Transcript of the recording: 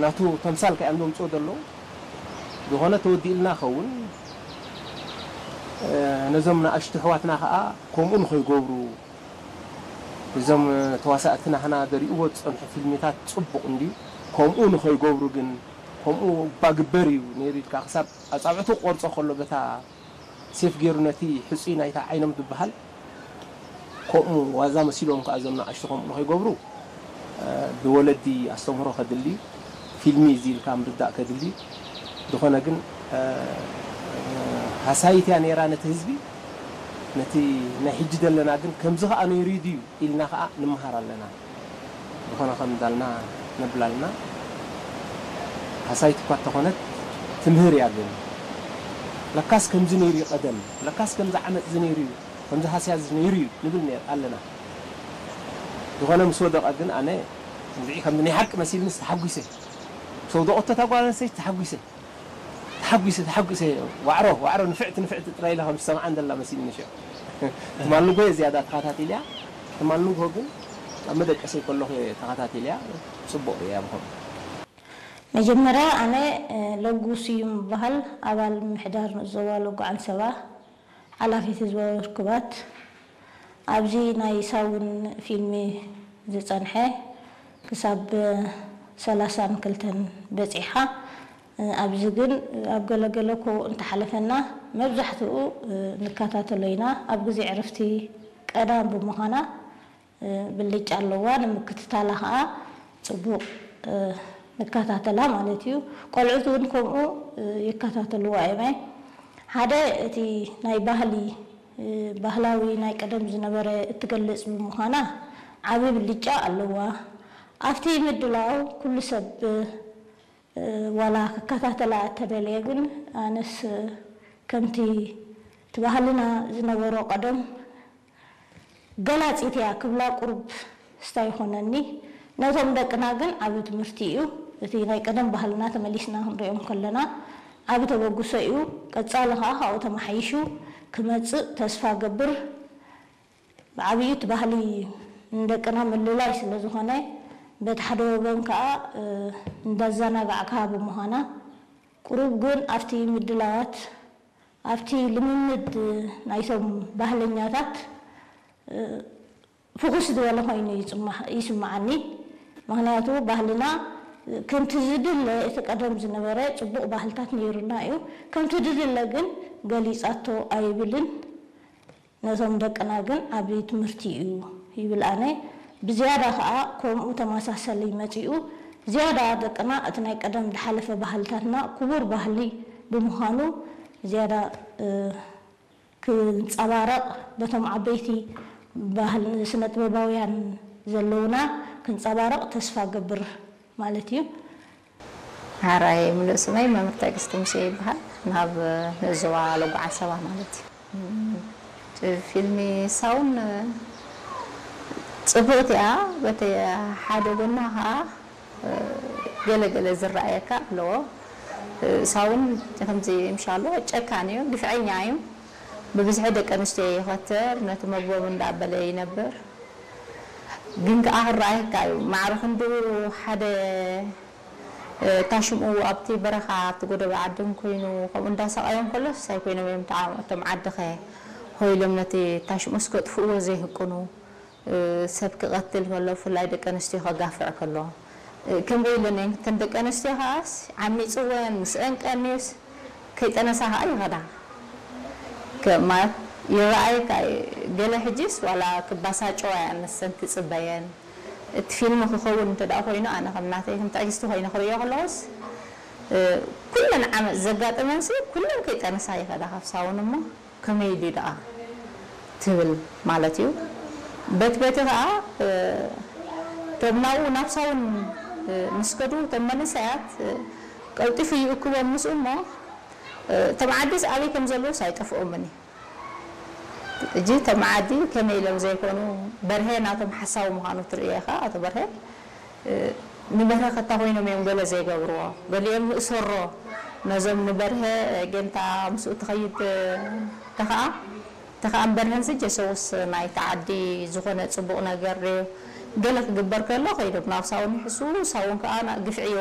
ናቱ ተምሳል ከ እዮም ዘምፅኦ ዘለዉ። ዝኾነ ተወዲእልና ኸውን ነዞም ንኣሽቱ ኣሕዋትና ከዓ ከምኡ ንኸይገብሩ እዞም ተዋሳእቲ ናህና ዘሪእዎ ዝፀንሑ ፊልሚታት ፅቡቕ እንድዩ። ከምኡ ንኸይገብሩ ግን ከምኡ እባ ግበር እዩ ነይሩ ኢልካ ክሳብ ኣፃብዕቱ ክቆርፆ ከሎ በታ ሴፍ ገይሩ ነቲ ሕፁይ ናይታ ዓይኖም ዝበሃል ከምኡ ዋዛ መሲሎም ከዓ እዞም ንኣሽቱ ከምኡ ንኸይገብሩ ብወለዲ ኣስተምህሮ ከድሊ፣ ፊልሚ እዚ ኢልካ ምርዳእ ከድሊ። ዝኾነ ግን ሃሳይት እያ ነይራ ነቲ ህዝቢ። ነቲ ናይ ሕጂ ዘለና ግን ከምዚ ከዓ ነይሩ ድዩ ኢልና ከዓ ንምሃር ኣለና። ዝኾነ ከም እንዳልና ነብል ኣለና። ሃሳይት እኳ እንተኾነት ትምህር እያ ግን ለካስ ከምዚ ነይሩ እዩ ቀደም፣ ለካስ ከምዚ ዓመፅ እዚ ነይሩ እዩ፣ ከምዚ ሃስያ እዚ ነይሩ እዩ ንብል ነር ኣለና። ዝኾነ ምስ ወደቐ ግን ኣነ ንብዒ ከምዚ ናይ ሓቂ መሲልንስ ተሓጒሰ። ምስ ወደቐቶ እታ ጓል ኣንስተይቲ ተሓጒሰ። ተሓጒሰ ተሓጒሰ። ዋዕሮ ዋዕሮ ንፍዕቲ ንፍዕቲ ጥራይ ኢለ ከም ዝሰምዓ እንደላ መሲልኒ ሽዑ። ትማሊ ጎየ ዝያዳ ተኸታቲልያ። ትማሊ ንግሆ ግን ኣብ መደቀሰይ ከለኹ እየ ተኸታቲልያ። ጽቡቕ ርእያ ብኸምኡ። መጀመርያ ኣነ ለጉ ስዩም እበሃል፣ ኣባል ምምሕዳር ንኡስ ዞባ ለጉ ዓንሰባ፣ ሓላፊት ህዝባዊ ርክባት። ኣብዚ ናይ ሳውን ፊልሚ ዝጸንሐ ክሳብ ሰላሳን ክልተን በጺሓ። ኣብዚ ግን ኣብ ገለገለ ኮ እንተሓለፈና መብዛሕትኡ ንከታተሎ ኢና። ኣብ ግዜ ዕረፍቲ ቀዳም ብምዃና ብልጫ ኣለዋ፣ ንምክትታላ ኸዓ ጽቡቕ ንከታተላ ማለት እዩ። ቆልዑት እውን ከምኡ ይከታተልዋ እዮም። ሓደ እቲ ናይ ባህሊ፣ ባህላዊ ናይ ቀደም ዝነበረ እትገልጽ ብምዃና ዓቢ ብልጫ ኣለዋ። ኣብቲ ምድላው ኩሉ ሰብ ዋላ ክከታተላ እተደልየ፣ ግን ኣነስ ከምቲ እቲ ባህልና ዝነበሮ ቀደም ገላጺት እያ ክብላ ቁሩብ ስታ ይኾነኒ። ነቶም ደቅና ግን ዓቢ ትምህርቲ እዩ። እቲ ናይ ቀደም ባህልና ተመሊስና ክንሪኦም ከለና ዓቢ ተበግሶ እዩ። ቀጻሊ ኸኣ ካብኡ ተመሓይሹ ክመጽእ ተስፋ ገብር። ብዓብዩ እቲ ባህሊ ንደቅና ምልላይ ስለ ዝኾነ፣ በቲ ሓደ ወገን ከኣ እንዳዘናጋዕካ ብምዃና፣ ቁሩብ ግን ኣብቲ ምድላዋት ኣብቲ ልምምድ ናይቶም ባህለኛታት ፍኹስ ዝበለ ኮይኑ ይስማዓኒ። ምኽንያቱ ባህልና ከምቲ ዝድለ እቲ ቀደም ዝነበረ ጽቡቕ ባህልታት ነይሩና እዩ። ከምቲ ዝድለ ግን ገሊጻቶ ኣይብልን። ነቶም ደቅና ግን ዓቢ ትምህርቲ እዩ ይብል ኣነ። ብዝያዳ ከኣ ከምኡ ተመሳሰሊ መጺኡ ዝያዳ ደቅና እቲ ናይ ቀደም ዝሓለፈ ባህልታትና ክቡር ባህሊ ብምዃኑ ዝያዳ ክንጸባረቕ በቶም ዓበይቲ ባህል ስነ ጥበባውያን ዘለውና ክንጸባረቕ ተስፋ ገብር ማለት እዩ። ሓራይ ምሉእ ስመይ መምህር ትዕግስቲ ሙሴ ይበሃል። ናብ ንእዝዋ ለጉዓ ሰባ ማለት እዩ። ፊልሚ ሳውን ጽብቕቲ እያ። በቲ ሓደ ጎና ኸዓ ገለ ገለ ዝረኣየካ ኣለዎ። ሳውን ከምዚ ምሻሎ ጨካን እዩ፣ ግፍዐኛ እዩ። ብብዝሒ ደቂ ኣንስትዮ ይኸተል፣ ነቲ መግቦም እንዳበለ ይነብር። ግን ከኣ ክረኣየካ እዩ። ማዕረ ክንድኡ ሓደ፣ እ፣ እታ ሽምኡ ኣብቲ በረኻ፣ ኣብቲ ጎደቦ ዓድን ኮይኑ ከምኡ እንዳሳቐዮም ከሎስ ኣይኮይኖም እዮም እታ-፣ እቶም ዓድኸ ሆይሎም ነቲ እታ ሽምኡስ ከጥፍእዎ ዘይህቅኑ፣ እ፣ ሰብ ክቐትል ከሎ፣ ብፍላይ ደቂ ኣንስትዮ ከጋፍዕ ከሎ፣ እ፣ ከምዚ ኢለን እየን እተን ደቂ ኣንስትዮ ከኣስ ዓሚጽወን፣ ምስ ኣንቀንዩስ፣ ከይጠነሳ ኸኣ ይኸዳ። ከ-፣ ማለት ይረኣየካ እዩ። ገለ ሕጂስ ዋላ ክባሳጨዋ እያ ንሰን ትጽበየን። እቲ ፊልም ክኸውን እንተ ደኣ ኮይኑ፣ ኣነ ከም ናተይ፣ ከም ትዕግስቲ ኮይነ ክርእዮ ከለኹስ፣ እ፣ ኩለን ዓመጽ ዘጋጠመንሲ ኩለን ከይጠነሳ ይኸዳ ካብ ሳውን እሞ፣ ከመይ ድዩ ደኣ ትብል ማለት እዩ። በቲ በቲ ኸኣ፣ እ፣ እቶም ናብኡ ናብ ሳውን፣ እ፣ ምስ ከዱ፣ እቶም መንእሰያት፣ እ፣ ቀልጢፉ ይእክቦም ምስኡ እሞ፣ እ፣ እቶም ዓዲስ ኣበይ ከም ዘለዉስ ኣይጠፍኦምን እዩ። ሕጂ እቶም ዓዲ ከመይ ኢሎም ዘይኮኑ፣ በርሄ ናቶም ሓሳዊ ምዃኑ ትርእዮ ኢኻ፣ ኣቶ በርሄ። እ፣ ንበርሀ ከታ ኮይኖም እዮም ገለ ዘይገብርዎ። ገሊኦም ንእሰሮ ነዞም ንበርሀ፣ እ፣ ጌንታ ምስኡ ትኸይድ፣ እ፣ ተኸኣ፣ ተኸኣን በርሀንሲ ጀሰውስ ናይቲ ዓዲ ዝኾነ ጽቡቕ ነገር ድዩ? ገለ ክግበር ከሎ ከይዶም ናብ ሳውን ይሕሱ፣ ሳውን ከኣ ና-፣ ግፍዒ